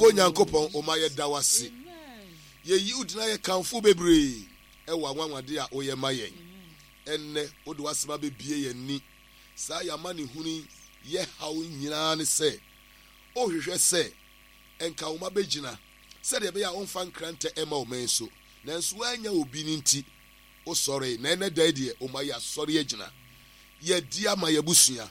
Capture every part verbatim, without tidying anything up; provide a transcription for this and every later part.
Onyankopɔn, ɔma yɛda wo ase. Yɛyi wo din ayɛ kamfo bebree ɛwɔ anwanwade a woyɛ ma yɛn. Ɛnnɛ, wode w'asɛm abɛbie yɛn ani. Saa yɛn amanehunu yi, yɛ haw nyinaa ne sɛ, wohwehwɛ sɛ ɛnka wo mma bɛgyina sɛdeɛ ɛbɛyɛ a womfa nkrantɛ mma ɔman so. Nanso woannya obi no nti, wosɔree. Na ɛnnɛ da yi deɛ, wo mma yɛasɔre agyina. Yɛadi ama yɛn abusua.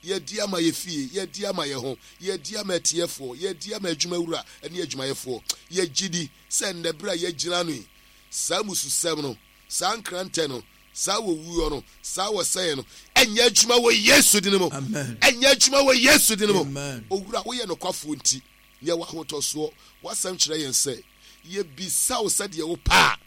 Yɛadi ama yɛn fie, yɛadi ama yɛn ho, yɛadi ama atiefoɔ, yɛadi ama adwumawura ne adwumayɛfoɔ. Yɛgye di sɛ nnɛ berɛ a yɛagyina ano yi, saa mmususɛm no, saa nkrantɛ no, saa wɔwuo no, saa wɔsɛeɛ no, ɛnyɛ adwuma wɔ Yesu din mu. Ɛnyɛ adwuma wɔ Yesu din mu. Owura, woyɛ nokwafoɔ nti, yɛwɔ ahotɔsoɔ. W'asɛm kyerɛ yɛn sɛ, yɛbisa wo sɛdeɛ wopɛ a,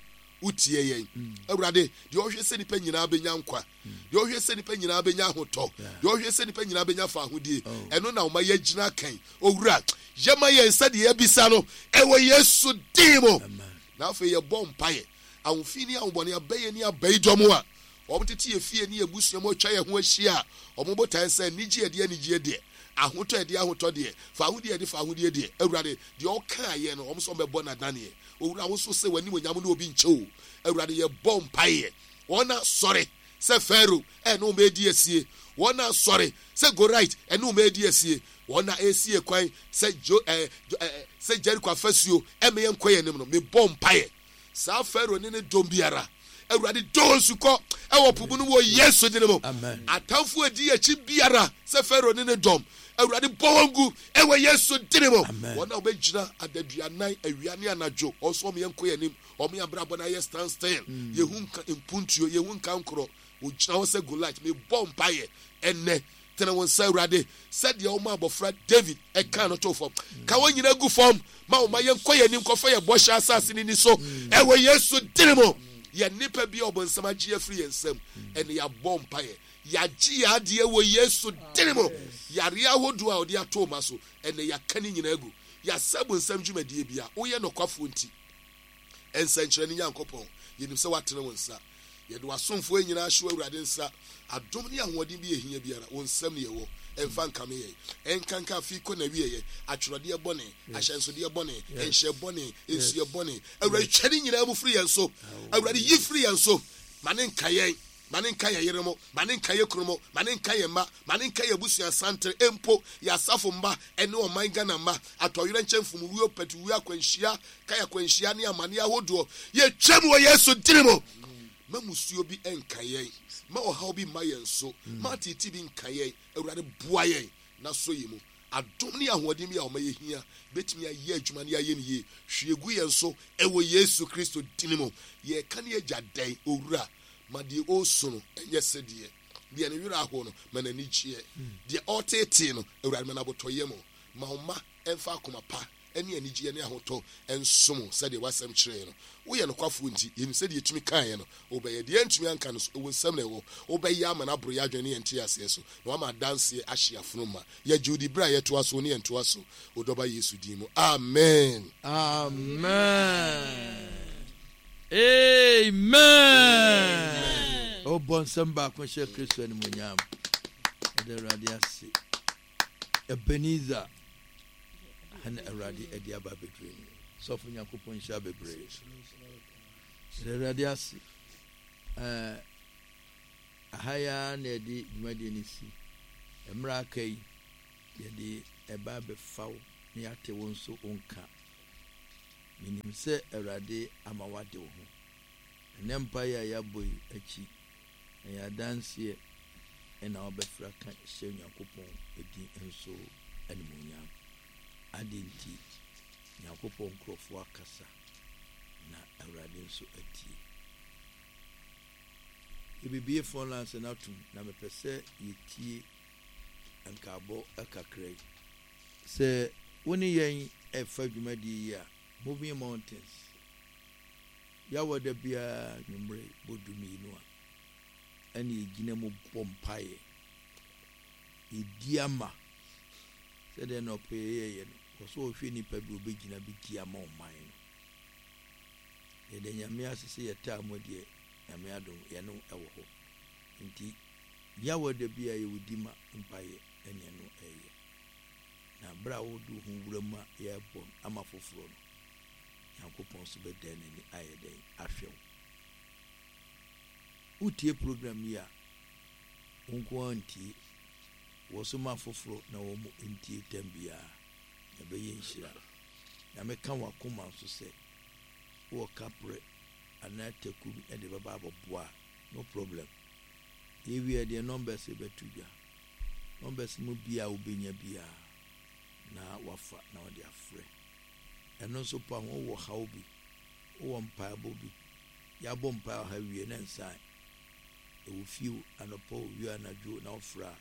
wotie yɛn. Awurade, deɛ ɔhwɛ sɛ nnipa nyinaa bɛnya nkwa, deɛ ɔhwɛ sɛ nnipa nyinaa bɛnya ahotɔ, deɛ ɔhwɛ sɛ nnipa nyinaa bɛnya fahodie, ɛno na ɔma yɛgyina kan. Owura, yɛma yɛn sɛdeɛ yɛabisa no, ɛwɔ Yesu din mu. Na afei yɛbɔ mpaeɛ, ahofi ne ahobɔne abɛyɛ ne abayidɔm a wɔtete yɛn fie ne yɛn abusua mu atwa yɛn ho ahyia a wɔn botae sɛ anigye ɛde anigyeɛ deɛ, ahotɔ ɛde ahotɔ deɛ, fahodie ɛde fahodie deɛ, Awurade, deɛ ɔkaeɛ no, wɔn nso wɔbɛbɔ no adaneɛ. Owura, wo nso sɛ w'animuonyam ne obi nkyɛ o. Awurade, yɛbɔ mpaeɛ. Wɔn asɔre sɛ Farao ɛne wɔn redi asie. Wɔn asɔre sɛ Goliath ɛne wɔn redi asie. Wɔn a ɛresie kwan sɛ Jo ɛɛ ɛɛ sɛ Jericho afasuo ɛmɛ yɛn nkɔ yɛn anim no, mebɔ mpaeɛ. Saa Farao ne ne dɔm biara, Awurade dɔ wɔn sukɔ ɛwɔ po mu no wɔ Yesu din mu. Atamfo edi akyi biara sɛ Farao ne ne dɔm, Awurade bɔ wɔn gu ɛwɔ Yesu din mu. Wɔn a wɔbɛgyina adaduanan awia ne anadwo, wɔn nso wɔn yɛn nkɔ yɛn anim, wɔn yɛn abrabɔ no ayɛ stand still. Yɛhu nka mpuntuo, yɛhu nka nkorɔ, wɔgyina hɔ sɛ Goliath. Mebɔ mpaeɛ ɛnnɛ, tene wo nsa Awurade, sɛdeɛ wɔma abɔfra David ɛka no to fam, ka wɔn nyinaa gu fam, ma wɔn ma yɛnkɔ yɛn anim kɔfa yɛn bɔhyɛ asase no ni so ɛwɔ Yesu din mu. Yɛn nnipa bi a ɔbɔnsam agye afiri yɛn nsam, ɛne yɛabɔ mpaeɛ, yɛagye yɛn adeɛ wɔ Yesu din mu. Yareɛ ahodoɔ a ɔde ato ma so, ɛnɛ yɛaka ne nyinaa agu. Yɛasɛ bonsam dwumadie bi a woyɛ nɔkwafoɔ nti, nsɛnkyerɛnne Nyankopɔn, yɛnim sɛ woatene wo nsa. Yɛde w'asomfoɔ nyinaa hyɛ Awurade nsa. Adom ne ahoɔden bi ɛhia biara, wo nsam ne yɛwɔ. Ɛmfa nkame yɛn. Ɛnkanka afei kɔ n'awieeɛ. Atwerɛdeɛ bɔne, ahyɛnsodeɛ bɔne, nhyɛ bɔne, nsuɛ bɔne. Awurade, twa ne nyinaa mu firi yɛn so. Awurade, yi firi yɛn so. Ma ne nka yɛn. Ma ne nka yɛn yere mo. Ma ne nka yɛn kunu mo. Ma ne nka yɛn mma. Ma ne nka yɛn abusua santere. Mpo yɛn asafo mma ne ɔman Ghana mma. Atɔyerɛnkyɛm, mfomwuo, patuwuo, akwanhyia, kae akwanhyia ne amanneɛ ahodoɔ. Yɛtwam wɔ Yesu din mu. Ma musuo bi nka yɛn. Ma ɔhaw bi mma yɛn so. Ma ateetee bi nka yɛn. Awurade, boa yɛn na sɔ yɛn mu. Adom ne ahoɔden bi a ɔma yɛhia bɛtumi ayɛ adwuma ne ayɛ no yie. Hwie gu yɛn so ɛwɔ Yesu Kristo din mu. Yɛreka ne agya dɛn, Owura? Ma deɛ ɔresu no ɛnyɛ sɛdeɛ. Deɛ ne werɛ aho no, ma n'ani gyeɛ. Deɛ ɔreteetee no, Awurade, ma no abotɔyam. Ma wo mma ɛmfa akoma pa ne anigyeɛ ne ahotɔ nsom wo sɛdeɛ w'asɛm kyerɛɛ no. Woyɛ nokwafoɔ nti, yɛnim sɛ deɛ yɛtumi kaeɛ no, wobɛyɛ. Deɛ yɛantumi anka no nso, wo nsam na ɛwɔ. Wobɛyɛ ama no aboro yɛn adwene ne yɛn nteaseɛ so, na woama adanseɛ ahye yɛn afono ma. Yɛgye wo di berɛ a yɛtoa so ne yɛntoa so, wo Dɔba Yesu din mu. Amen. Amen. Amen. Ɔbɔ nsɛm baako hyɛ Kristo animuonyam. Ɛda Awurade ase. Ebenezer ɛna Awurade ɛde aba abɛduru ni. Sɔfo Nyankopɔn nhyira bebree. Ɛda Awurade ase. Ɛɛ aha yi ara na yɛde dwumadie no si. Mmerɛ aka yi yɛde ɛba abɛfa wo na yɛate wo nso wo nka. Menim sɛ Awurade ama woade wo ho. Ɛnɛ mpaeɛ a yɛabɔ yi akyi, ɛyɛ adanseɛ na wobɛfrɛ aka hyɛ Onyankopɔn din nso animuonyam. Adɛn nti? Nyankopɔn nkurɔfoɔ akasa na Awurade nso atie. Yɛbɛbie phone lines no atom na mepɛ sɛ yɛtie nkaabɔ kakra yi. Sɛ wo ne yɛn ɛfa dwumadie yi a, Moving Mountains, Yawɔ da biara anwummere bɔ dumienu a, ɛna yɛgyina mu bɔ mpaeɛ. Yɛdi ama sɛdeɛ na ɔpɛ yɛyɛyɛ no. Wɔ sɛ ɔhwɛ nipa bi ɔbɛgyina bɛdi ama ɔman no. Yɛda Nyame ase sɛ yɛtaa mu deɛ, Nyame adom yɛne wo ɛwɔ hɔ. Nti Yawɔ da biara yɛwɔ di ma mpaeɛ ɛne ɛno ɛyɛ. Na berɛ a wode wo ho wura mu a yɛrebɔ ama foforɔ no, Nyankopɔn nso bɛdan n'ani ayɛ dɛn ahwɛ wo. Wotie program yi a, wo nko ara ntie. Wɔ so ma foforɔ na wɔn mu ntie tam biara. Na ɛbɛyɛ nhyira. Na meka w'akoma nso sɛ wowɔ kaprɛ anaa taku bi de bɛba abɛboa a, no problem. Yɛwie deɛ numbers bɛto dwa. Numbers mu bia a wobɛnya biara na wafa na wɔde afrɛ. Ɛno nso pa ho, wowɔ haw bi, wowɔ mpaebɔ bi, yɛabɔ mpae wɔ ha wie na nsan ɛwɔ fie o, anɔpa o, wie anadwo na wofrɛ a,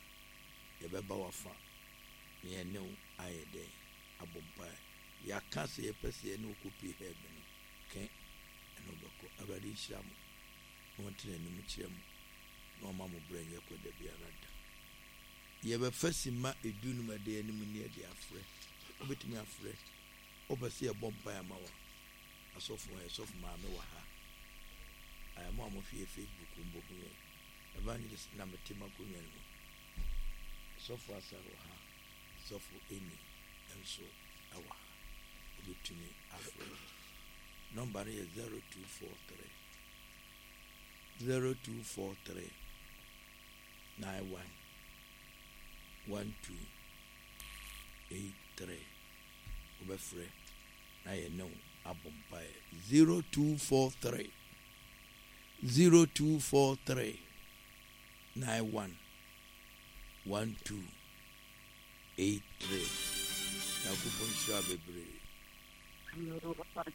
yɛbɛba wafa na yɛne wo ayɛ dɛn abɔ mpae. Yɛaka sɛ yɛpɛ sɛ yɛne wo kɔpie heaven no, kɛ ɛne wobɛkɔ. Awurade nhyira mo na ɔnte n'anim kyerɛ mo na ɔma mo berɛ nyɛ kɔ da biara da. Yɛbɛfa simma edu num ɛda anim ne yɛde afrɛ. Wobɛtumi afrɛ. Wopɛ sɛ yɛbɔ mpae ama wo a, asɔfo yɛ sɔfo maame wɔ ha. Ɛɛ mo a mohwɛ Facebook mbɔ hu yɛn. Evangelist na mete m'akonnwa no mu. Sɔfo Asare wɔ ha. Sɔfo Eni nso wɔ ha. Wobɛtumi afrɛ. Nɔmba no yɛ zero two four three zero two four three nine one one two eight three. Wobɛfrɛ na yɛne wo abɔ mpaeɛ. zero two four three zero two four three nine one one two eight three. Nyankopɔn nhyira bebree. Hello, Papa,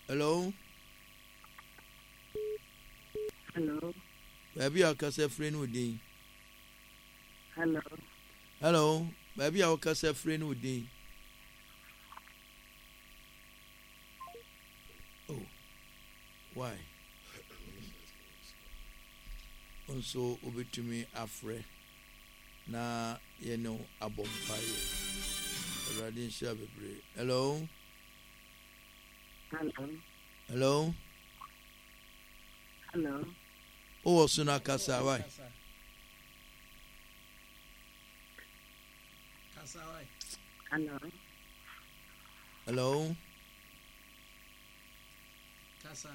Hello. Hello. Baabi a wokasa firi ne wo din. Hello. Hello. Baabi a wokasa firi ne wo din. Oh, why? Nso wobɛtumi afrɛ na yɛne wo abɔ mpaeɛ. Awurade nhyira bebree. Hello. Hello. Hello. Hello. Wowɔ so no akasa, why? Hello. Hello. Kasa.